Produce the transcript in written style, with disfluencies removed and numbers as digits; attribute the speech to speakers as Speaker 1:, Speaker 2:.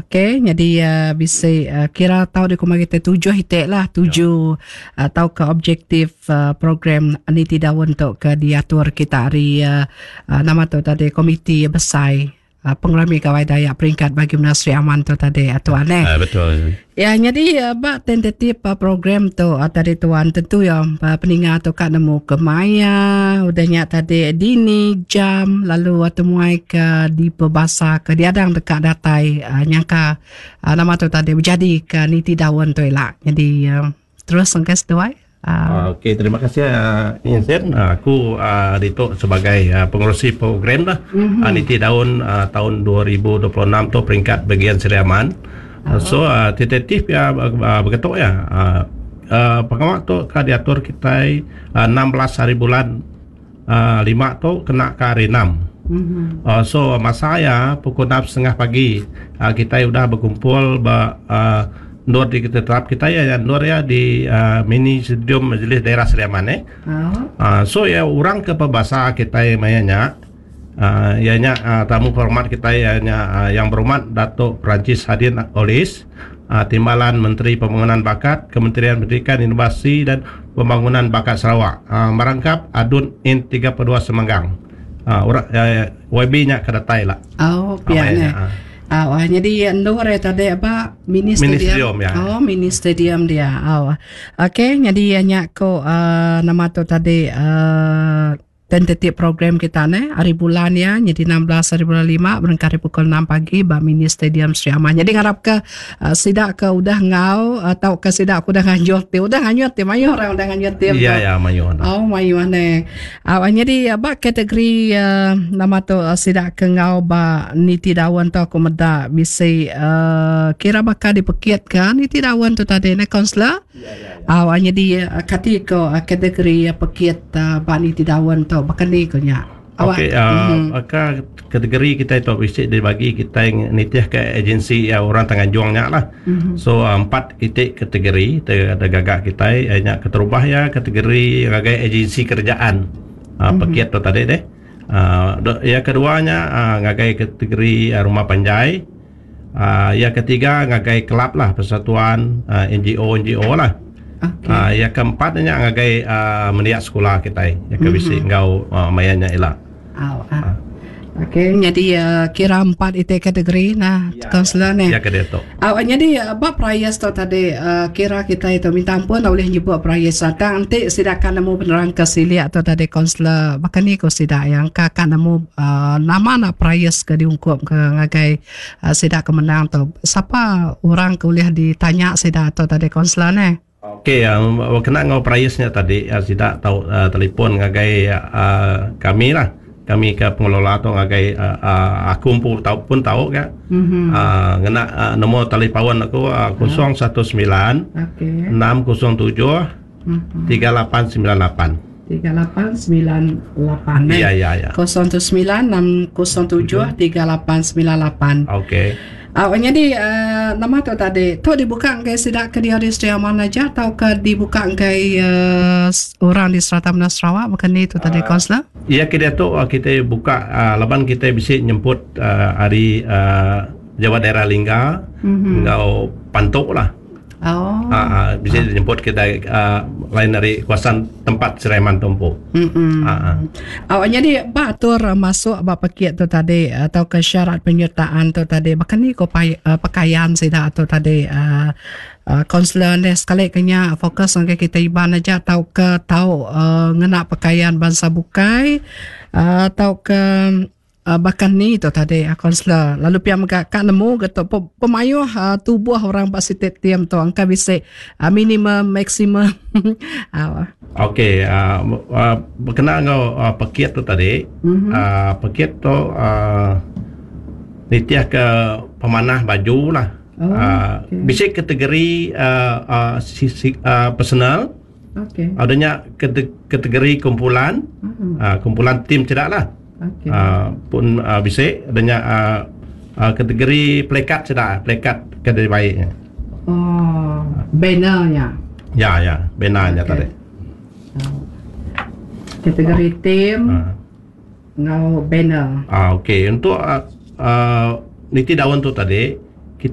Speaker 1: Okey nyadi bisi kira tau dikumbai kitai tujuh iti lah tuju tauka objektif program niti daun tu ke diatur kita ari nama tu tadi komiti besai pengerami Gawai Dayak peringkat bagi menua Sri Aman tu tadi tuan eh.
Speaker 2: Betul.
Speaker 1: Ya nyadi ba tentatif program tu tadi tuan tentu ya peninga tu ka nemu ke maya udah nya tadi dini jam lalu temuai ke dipebasa ke diadang deka datai nyangka nama tu tadi bejadi ke niti daun tu ila. Nyadi terus engka seduai.
Speaker 2: Okey terima kasih Insen aku ditu sebagai pengerusi program lah niti daun taun 2026 tu peringkat bahagian Sri Aman. So tentatif iya begitu iya pengawa tu ka diatur kitai 16 hari bulan lima tu kena ka hari enam. So masa iya pukul enam setengah pagi kitai udah bekumpul ba endur ti tetap kitai iya endur iya di mini stadium Majlis Daerah Sri Aman eh. So iya orang ke pebasa kitai maya nya iya nya tamu hormat kitai iya nya Yang Berhormat Dato Francis Hadin Olis Timbalan Menteri Pembangunan Bakat Kementerian Pendidikan Inovasi dan Pembangunan Bakat Sarawak merangkap ADUN N 32 Semanggang. Orang YB nya ke datai la.
Speaker 1: Oh pia ne. Au nyadi endur iya tadi ba mini stadium.
Speaker 2: Mini stadium ya.
Speaker 1: Oh mini stadium dia. Au. Okey nyadi nya ko nama tu tadi uhh tentative program kita neh hari bulan iya nyadi 16 hari bulan lima berengkah ari pukul enam pagi ba mini stadium Sri Aman. Nyadi ngarap ke sida ke udah enggau tauka sida ke udah nganjung ti udah nganyut ti mayuh orang udah nganyut ti.
Speaker 2: Ya ya mayuh.
Speaker 1: Oh mayuh neh. Au nyadi ba kategori nama tu sida ke enggau ba niti daun tu aku meda bisi kira baka dipekit ka niti daun tu tadi neh kaunselor. Au nyadi kati ko kategori pekit ba niti daun tu baka ni ko nya.
Speaker 2: Okey baka kategori kitai tu bisi dibagi kitai nitih ka agensi orang Tanganjung nya lah. So empat iti kategori da gaga kitai iya nya keterubah iya kategori ngagai agensi kerajaan pekit tu tadi deh. Iya kedua nya ngagai kategori rumah panjai. Iya ketiga ngagai kelab lah persatuan NGO NGO lah.
Speaker 1: Okay.
Speaker 2: Iya keempat nya ngagai mendiak sekula kitai iya ke bisi enggau maya nya ila.
Speaker 1: Au. Okey nyadi kira empat iti kategori nah kaunselor neh.
Speaker 2: Ya ke diatu.
Speaker 1: Au nyadi ba prize tu tadi kira kitai tu minta ampun ulih nyebut prize tang enti sida ka nemu penerang ke silik tu tadi kaunselor baka ni ku sida iya engka ka nemu nama nak prize ke diungkup ke ngagai Sida ke menang tu sapa orang ke ulih ditanya sida tu tadi kaunselor neh.
Speaker 2: Okey kena enggau perais nya tadi sida tau telefon ngagai kami lah. Kami ke pengelola tu ngagai aku empu tau pun tau ga ngena nombor talipaun aku 019 607 3898.
Speaker 1: 3898 eh.
Speaker 2: Ya ya ya.
Speaker 1: 019 607 3898.
Speaker 2: Okey.
Speaker 1: Uh, nyadi uh, nama tu tadi tu dibuka enggai sida ke dia di Sri Aman aja atau ke dibuka enggai uh, orang di serata menua Sarawak bukan ni tu tadi kaunselor?
Speaker 2: Ya ke dia tu uh, kita buka uh, laban kita bisi nyemput uh, ari uh, Jawa Daerah Lingga mm-hmm. enggau Pantok lah.
Speaker 1: Oh.
Speaker 2: Ha, bisi jemput kita uh, lain dari kawasan tempat Sri Aman tu empu.
Speaker 1: Mm-mm.
Speaker 2: Ha, ha.
Speaker 1: Oh, jadi ba atur masuk ba pekit tu tadi atau ke syarat penyertaan tu tadi baka ni ko pai, uh, pakaian sida tu tadi uh, uh, kaunselor ni sekali ke nya fokus ngagai kita Iban aja tau ke tau uh, ngena pakaian bansa bukai uh, tau ke Baka ni tu tadi kaunselor lalu pia mega ka nemu ga tu pemayuh tubuh orang ba siti team tu engka bisi minimum maksimum.
Speaker 2: Okey bekena enggau pekit tu tadi pekit tu nitih ke pemanah baju lah bisi kategori personal.
Speaker 1: Okey.
Speaker 2: Ada nya kategori kumpulan,
Speaker 1: mm-hmm.
Speaker 2: kumpulan tim sida lah.
Speaker 1: Okey.
Speaker 2: Pun bisi ada nya kategori plekat sida, plekat ke dibai nya.
Speaker 1: Oh, banner nya.
Speaker 2: Ya, ya, banner nya
Speaker 1: okay.
Speaker 2: tadi.
Speaker 1: Kategori tim enggau banner.
Speaker 2: Ah, okey. Untuk niti daun tu tadi.